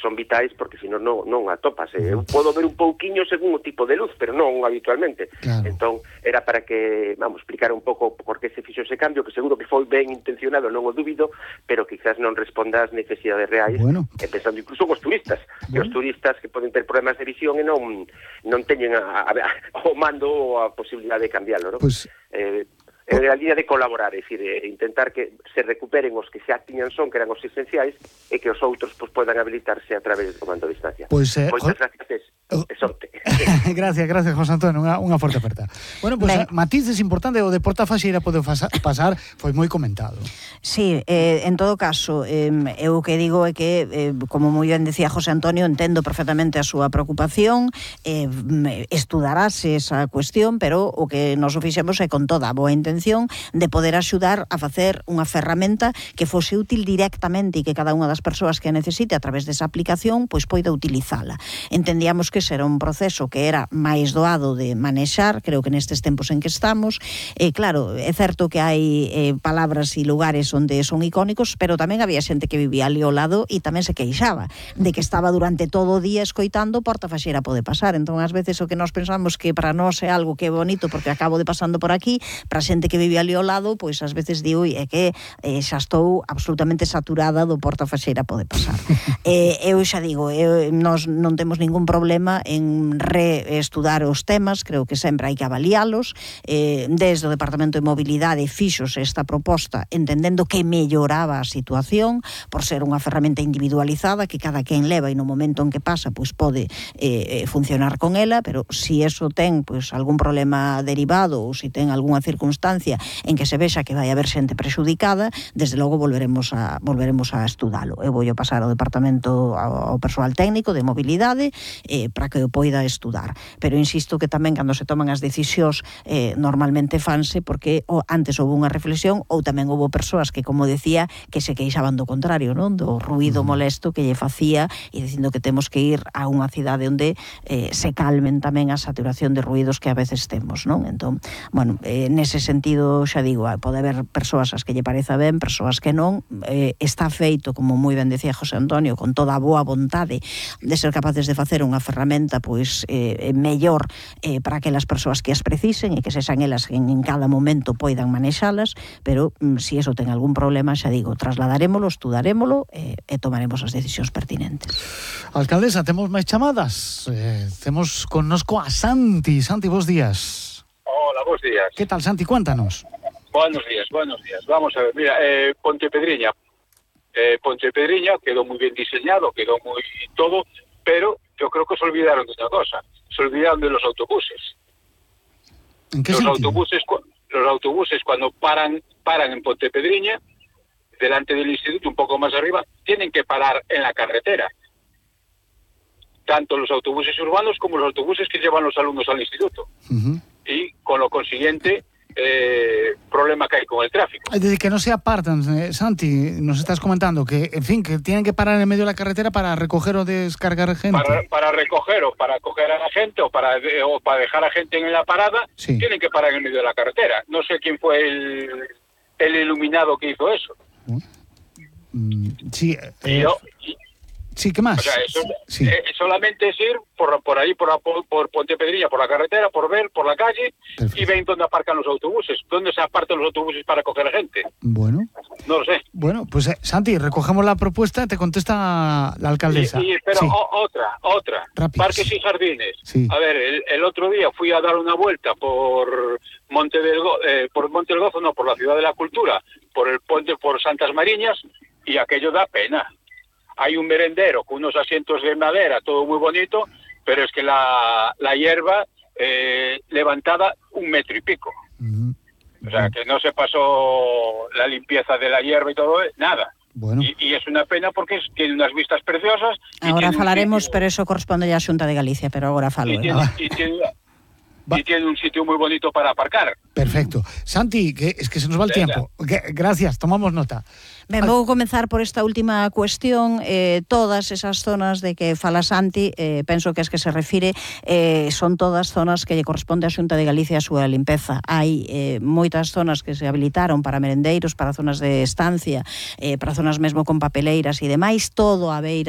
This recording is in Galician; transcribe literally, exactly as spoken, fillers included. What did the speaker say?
son vitais porque senón non, non atopas. Eh. Eu podo ver un pouquiño según o tipo de luz, pero non habitualmente. Claro. Entón, era para que, vamos, explicar un pouco por que se fixo ese cambio, que seguro que foi ben intencionado, non o dúbido, pero quizás non responda ás necesidades reais, bueno. e pensando incluso os turistas, bueno. que os turistas que poden ter problemas de visión e non, non teñen a, a, a, o mando ou a posibilidade de cambiarlo, non? Pues... Eh, É a línea de colaborar, é dicir, é intentar que se recuperen os que xa tiñan son, que eran os esenciais, e que os outros pues, podan habilitarse a través do comando a distancia. Pois, eh, Moitas gracias, e sorte. Gracias, gracias, José Antonio, unha, unha forte aperta. Bueno, pois, pues, matices importante, o de Porta Faxeira pode pasar, foi moi comentado. Sí, eh, en todo caso, eh, eu o que digo é que, eh, como moi ben decía José Antonio, entendo perfectamente a súa preocupación, eh, estudarase esa cuestión, pero o que nos o fixemos é con toda a boa intención de poder axudar a facer unha ferramenta que fose útil directamente e que cada unha das persoas que a necesite a través desa aplicación pois poida utilizala. Entendíamos que ese era un proceso que era máis doado de manexar, creo que nestes tempos en que estamos, e claro, é certo que hai eh, palabras e lugares onde son icónicos, pero tamén había xente que vivía ali ao lado e tamén se queixaba de que estaba durante todo o día escoitando Porta Faxeira pode pasar. Entón, ás veces o que nós pensamos que para nós é algo que é bonito porque acabo de pasando por aquí, para xente que vive ali ao lado, pois ás veces digo é que eh, xa estou absolutamente saturada do Porta Faxeira pode pasar. eh, eu xa digo, eu, nós non temos ningún problema en reestudar os temas, creo que sempre hai que avalialos, eh, desde o Departamento de Mobilidade fixos esta proposta entendendo que melloraba a situación por ser unha ferramenta individualizada que cada quen leva e no momento en que pasa pois pode eh, funcionar con ela, pero si eso ten pois algún problema derivado ou si ten algunha circunstancia en que se vexa que vai haber xente prexudicada, desde logo volveremos a volveremos a estudalo. Eu vou pasar ao departamento ao persoal técnico de mobilidade eh, para que o poida estudar. Pero insisto que tamén cando se toman as decisións eh, normalmente fanse porque o, antes houve unha reflexión ou tamén houve persoas que, como decía, que se queixaban do contrario, non? Do ruído molesto que lle facía e dicindo que temos que ir a unha cidade onde eh, se calmen tamén a saturación de ruídos que a veces temos, non? Entón, bueno, eh, nese sentido, xa digo, pode haber persoas as que lle pareza ben, persoas que non, eh, está feito, como moi ben decía José Antonio, con toda a boa vontade de ser capaces de facer unha ferramenta pois eh, mellor eh, para aquelas persoas que as precisen e que sexan elas que en, en cada momento poidan manexalas, pero mm, si eso ten algún problema, xa digo, trasladarémolo, estudarémolo eh, e tomaremos as decisións pertinentes. Alcaldesa, temos máis chamadas, eh, temos connosco a Santi. Santi, bos días. Hola, bos días. Que tal, Santi? Cuéntanos. Buenos días, buenos días. Vamos a ver, mira, eh, Pontepedriña. Eh, Pontepedriña quedó muy bien diseñado, quedó muy todo, pero yo creo que se olvidaron de una cosa. Se olvidaron de los autobuses. ¿En qué los sentido? autobuses, los autobuses cuando paran, paran en Pontepedriña, delante del instituto, un poco más arriba, tienen que parar en la carretera. Tanto los autobuses urbanos como los autobuses que llevan los alumnos al instituto. Uh-huh. Y con lo consiguiente, eh, problema que hay con el tráfico. Es decir, que no se apartan, eh, Santi, nos estás comentando que, en fin, que tienen que parar en medio de la carretera para recoger o descargar gente. Para, para recoger o para coger a la gente o para, o para dejar a gente en la parada, sí. Tienen que parar en medio de la carretera. No sé quién fue el, el iluminado que hizo eso. Mm, sí, eh, y yo, y, sí, ¿qué más? O sea, eso, sí. eh, solamente es ir por, por ahí, por, por, por Pontepedriña, por la carretera, por ver, por la calle. Perfecto. Y ven dónde aparcan los autobuses. ¿Dónde se apartan los autobuses para coger a gente? Bueno. No lo sé. Bueno, pues eh, Santi, recogemos la propuesta, te contesta la alcaldesa. Y, y pero sí. o, otra, otra. Rápido. Parques y jardines. Sí. A ver, el, el otro día fui a dar una vuelta por Monte del Go, eh, por Monte del Gozo, no, por la Ciudad de la Cultura, por el puente, por Santas Mariñas, y aquello da pena. Hay un merendero con unos asientos de madera, todo muy bonito, pero es que la, la hierba eh, levantada un metro y pico. Uh-huh. O sea, que no se pasó la limpieza de la hierba y todo, nada. Bueno. Y, y es una pena porque es, tiene unas vistas preciosas. Ahora falaremos, sitio... pero eso corresponde ya a Xunta de Galicia, pero ahora falo. Y tiene, y tiene, y tiene un sitio muy bonito para aparcar. Perfecto. Santi, que es que se nos va el Venga. tiempo. Que, gracias, tomamos nota. Ben, vou comenzar por esta última cuestión. Eh, todas esas zonas de que fala Santi, eh, penso que es que se refire, eh, son todas zonas que lle corresponde a Xunta de Galicia a súa limpeza. Hai eh, moitas zonas que se habilitaron para merendeiros, para zonas de estancia, eh, para zonas mesmo con papeleiras e demais, todo a beira